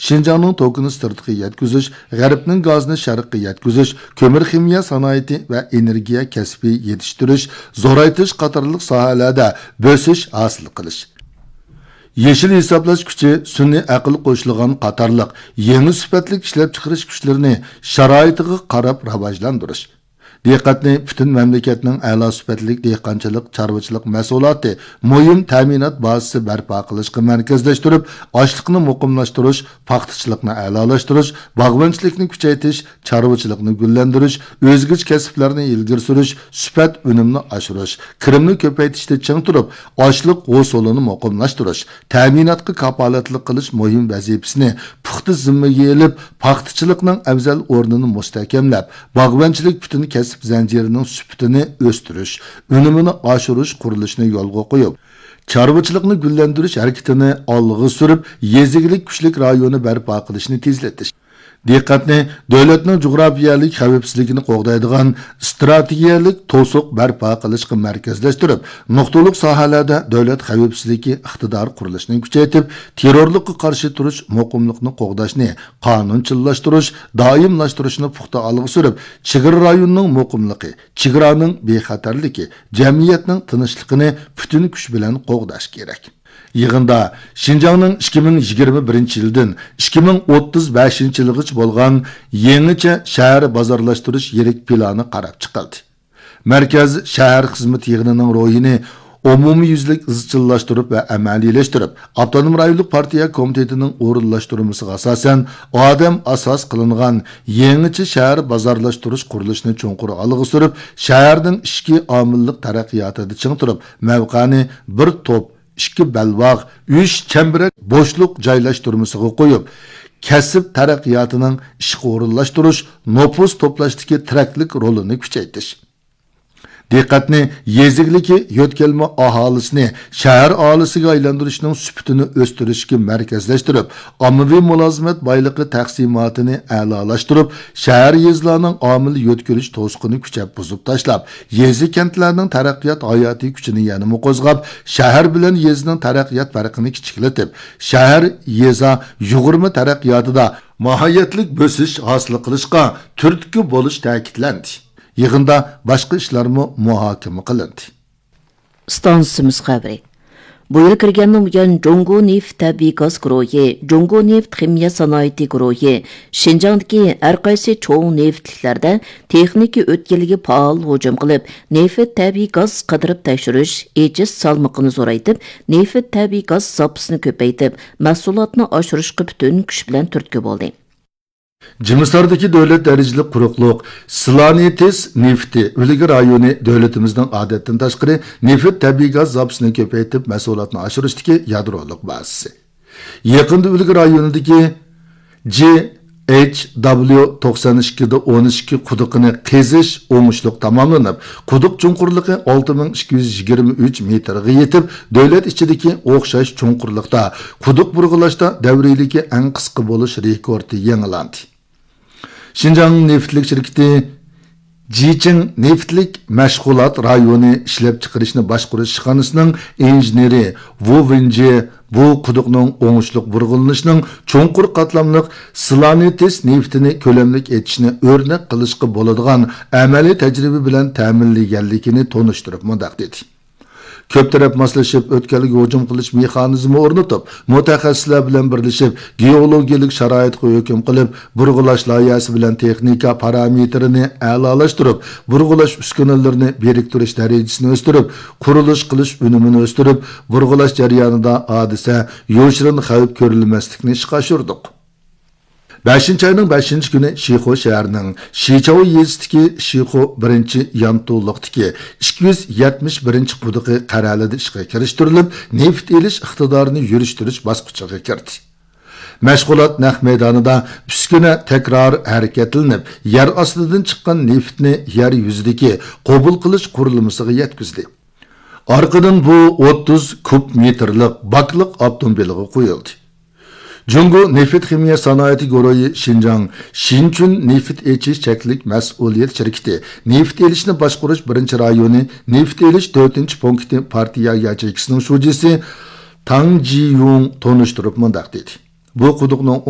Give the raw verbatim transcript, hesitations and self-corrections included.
شىنجاڭنىڭ توكىنى سىرتقا يەتكۈزۈش، غەربنىڭ گازىنى شەرققە يەتكۈزۈش، كۆمۈر خىمىيە سانائىتى ۋە ئېنېرگىيە كەسپى يېتىشتۈرۈش، زورايتىش قاتارلىق ساھەلەردە بۆسۈش ھاسىل قىلىش. يېشىل ھېسابلاش كۈچى، سۈنئىي ئەقىل قوشۇلغان قاتارلىق يېڭى سۈپەتلىك ئىشلەپچىقىرىش كۈچلىرىنى شارائىتىغا قاراپ راۋاجلاندۇرۇش. دىققەتنى پۈتۈن مەملىكەتنىڭ ئەلا سۈپەتلىك دېھقانچىلىق، چارۋىچىلىق مەھسۇلاتى مۇھىم تەمىنات بازىسى بەرپا قىلىشقا مەركەزلەشتۈرۈپ، ئاشلىقنى مۇقىملاشتۇرۇش، پاختىچىلىقنى ئەلالاشتۇرۇش، باغۋەنچىلىكنى كۈچەيتىش، چارۋىچىلىقنى گۈللەندۈرۈش، ئۆزگىچە كەسىپلەرنى ئىلگىرى سۈرۈش، سۈپەت ئۈنۈمنى ئاشۇرۇش، كىرىمنى كۆپەيتىشتە چىڭ تۇرۇپ، ئاشلىق ھوسۇلىنى مۇقىملاشتۇرۇش، تەمىناتقا كاپالەتلىك قىلىش مۇھىم ۋەزىپىسىنى پۇختا زىممىگە ئېلىپ، پاختىچىلىقنىڭ ئەۋزەل ئورنىنى مۇستەھكەملەپ، باغۋەنچىلىك پۈتۈن كەسىپ زەنجىرىنىڭ سۈپىتىنى ئۆستۈرۈش، ئۈنۈمىنى ئاشۇرۇش قۇرۇلۇشىنى يولغا قويۇپ، چارۋىچىلىقنى گۈللەندۈرۈش ھەرىكىتىنى ئالغا سۈرۈپ، يېزا ئىگىلىك كۈچلۈك رايونى بەرپا قىلىشنى تېزلىتىش. دىققەتنى دۆلەتنىڭ جۇغراپىيەلىك خەۋپسىزلىكىنى قوغدايدىغان ئىستراتېگىيەلىك توسۇق بەرپا قىلىشقا مەركەزلەشتۈرۈپ، نۇقتىلىق ساھەلەردە دۆلەت خەۋپسىزلىكى ئىقتىدارى قۇرۇلۇشىنى كۈچەيتىپ، تېررورلۇققا قارشى تۇرۇش مۇقىملىقنى قوغداشنى قانۇنچىللاشتۇرۇش، دائىملاشتۇرۇشنى پۇختا ئالغا سۈرۈپ، چېگرا رايونىنىڭ مۇقىملىقى، چېگرانىڭ بىخەتەرلىكى، جەمئىيەتنىڭ تىنچلىقىنى پۈتۈن كۈچ بىلەن قوغداش كېرەك. يىغىندا شىنجاڭنىڭ ئىككى مىڭ يىگىرمە بىرىنچى يىلدىن ئىككى مىڭ ئوتتۇز بەشىنچى يىلغىچە بولغان يېڭىچە شەھەر بازارلاشتۇرۇش يىرىك پىلانى قاراپ چىقىلدى. مەركەز شەھەر خىزمىتى يىغىنىنىڭ روھىنى ئومۇميۈزلۈك ئىزچىللاشتۇرۇپ ۋە ئەمەلىيلەشتۈرۈپ، ئاپتونوم رايونلۇق پارتىيە كومىتېتىنىڭ ئورۇنلاشتۇرمىسىغا ئاساسەن، ئادەم ئاساس قىلىنغان يېڭىچە شەھەر بازارلاشتۇرۇش قۇرۇلۇشىنى چوڭقۇر ئالغا سۈرۈپ، شەھەرنىڭ ئىچكى ئامىللىق تەرەققىياتىدا چىڭ تۇرۇپ، مەۋقەنى بىر توپ، ئىككى بەلباغ، ئۈچ چەمبىرەك بوشلۇق جايلاشتۇرمىسىغا قويۇپ، كەسىپ تەرەققىياتىنىڭ ئىشقا ئورۇنلاشتۇرۇش، نوپۇس توپلاشتىكى تىرەكلىك رولىنى كۈچەيتىش. دىققەتنى يېزا ئىگىلىكى يۆتكەلمە ئاھالىسىنى شەھەر ئاھالىسىگە ئايلاندۇرۇشنىڭ سۈپىتىنى ئۆستۈرۈشكە مەركەزلەشتۈرۈپ، ئاممىۋى مۇلازىمەت بايلىقى تەقسىماتىنى ئەلالاشتۇرۇپ، شەھەر، يېزىلارنىڭ ئامىل يۆتكىلىش توسۇقىنى كۈچەپ بۇزۇپ تاشلاپ، يېزا، كەنتلەرنىڭ تەرەققىيات ھاياتىي كۈچىنى يەنىمۇ قوزغاپ، شەھەر بىلەن يېزىنىڭ تەرەققىيات پەرقىنى كىچىكلىتىپ، شەھەر، يېزا يۇغۇرما تەرەققىياتىدا ماھىيەتلىك بۆسۈش ھاسىل قىلىشقا تۈرتكە بولۇش تەكىتلەندى. يىغىندا باشقا ئىشلارمۇ مۇھاكىمە قىلىندى. ئىستانسىمىز خەۋىرى. بۇ يىل كىرگەندىن بۇيان، جۇڭگو نېفىت تەبىئىي گاز گۇرۇھى، جۇڭگو نېفىت خىمىيە سانائىتى گۇرۇھى شىنجاڭدىكى ھەر قايسى چوڭ نېفىتلىكلەردە تېخنىكا ئۆتكىلىگە پائال ھۇجۇم قىلىپ، نېفىت تەبىئىي گاز قىدىرىپ تەكشۈرۈش، ئېچىش سالمىقىنى زورايتىپ، نېفىت تەبىئىي گاز زاپىسىنى كۆپەيتىپ، مەھسۇلاتنى ئاشۇرۇشقا پۈتۈن كۈچ بىلەن تۈرتكە بولدى. جىمىساردىكى دۆلەت دەرىجىلىك قۇرۇقلۇق سلانېتس نېفىتى ئۈلگە رايونى دۆلىتىمىزنىڭ ئادەتتىن تاشقىرى نېفىت تەبىئىي گاز زاپىسىنى كۆپەيتىپ، مەھسۇلاتنى ئاشۇرۇشتىكى يادرولۇق بازىسى. يېقىندا ئۈلگە رايونىدىكى جي ئېچ دابليۇ توقسان ئىككى دە ئون ئىككى قۇدۇقىنى قېزىش ئوڭۇشلۇق تاماملىنىپ، قۇدۇق چوڭقۇرلۇقى ئالتە مىڭ ئىككى يۈز يىگىرمە ئۈچ مېتىرغا يېتىپ، دۆلەت ئىچىدىكى ئوخشاش چوڭقۇرلۇقتا قۇدۇق بۇرغىلاشتا دەۋرىيلىكى ئەڭ قىسقا بولۇش رېكورتى يېڭىلاندى. شىنجاڭ نېفىتلىك شىركىتى جىچىڭ نېفىتلىك مەشغۇلات رايونى ئىشلەپچىقىرىشنى باشقۇرۇش ئىشخانىسىنىڭ ئىنژېنېرى ۋۇ ۋېنجى بۇ قۇدۇقنىڭ ئوڭۇشلۇق بۇرغىلىنىشىنىڭ چوڭقۇر قاتلاملىق سلانېتس نېفىتىنى كۆلەملىك ئېچىشنى ئۆرنەك قىلىشقا بولىدىغان ئەمەلىي تەجرىبە بىلەن تەمىنلىگەنلىكىنى تونۇشتۇرۇپ مۇنداق دېدى. كۆپ تەرەپ ماسلىشىپ، ئۆتكەلگە ھۇجۇم قىلىش مېخانىزمى ئورنىتىپ، مۇتەخەسسىسلەر بىلەن بىرلىشىپ، گېئولوگىيەلىك شارائىتقا ھۆكۈم قىلىپ، بۇرغىلاش لايىھەسى بىلەن تېخنىكا پارامېتىرىنى ئەلالاشتۇرۇپ، بۇرغىلاش ئۈسكۈنىلىرىنى بىرىكتۈرۈش دەرىجىسىنى ئۆستۈرۈپ، قۇرۇلۇش قىلىش ئۈنۈمىنى ئۆستۈرۈپ، بۇرغىلاش جەريانىدا ھادىسە، يوشۇرۇن خەۋپ كۆرۈلمەسلىكنى ئىشقا ئاشۇردۇق. بەشىنچى ئاينىڭ بەشىنچى كۈنى شىخۇ شەھىرىنىڭ شىچاۋ يېزىسىدىكى شىخۇ بىرىنچى يانتۇلۇقتىكى ئىككى يۈز يەتمىش بىرىنچى قۇدۇقى قەرەلىدە ئىشقا كىرىشتۈرۈلۈپ، نېفىت ئېلىش ئىقتىدارىنى يۈرۈشتۈرۈش باسقۇچىغا كىردى. مەشغۇلات نەق مەيدانىدا ئۈسكۈنە تەكرار ھەرىكەتلىنىپ، يەر ئاستىدىن چىققان نېفىتنى يەر يۈزىدىكى قوبۇل قىلىش قۇرۇلمىسىغا يەتكۈزدى. ئارقىدىن بۇ ئوتتۇز كۇب مېتىرلىق باكلىق ئاپتوموبىلغا قويۇلدى. جۇڭگو نېفىت خىمىيە سانائىتى گۇرۇھى شىنجاڭ شىنچۈن نېفىت ئېچىش چەكلىك مەسئۇلىيەت شىركىتى نېفىت ئېلىشنى باشقۇرۇش بىرىنچى رايونى نېفىت ئېلىش تۆتىنچى پونكىتى پارتىيە ياچېيكىسىنىڭ شۇجىسى تاڭ جىيۇڭ تونۇشتۇرۇپ مۇنداق دېدى: بۇ قۇدۇقنىڭ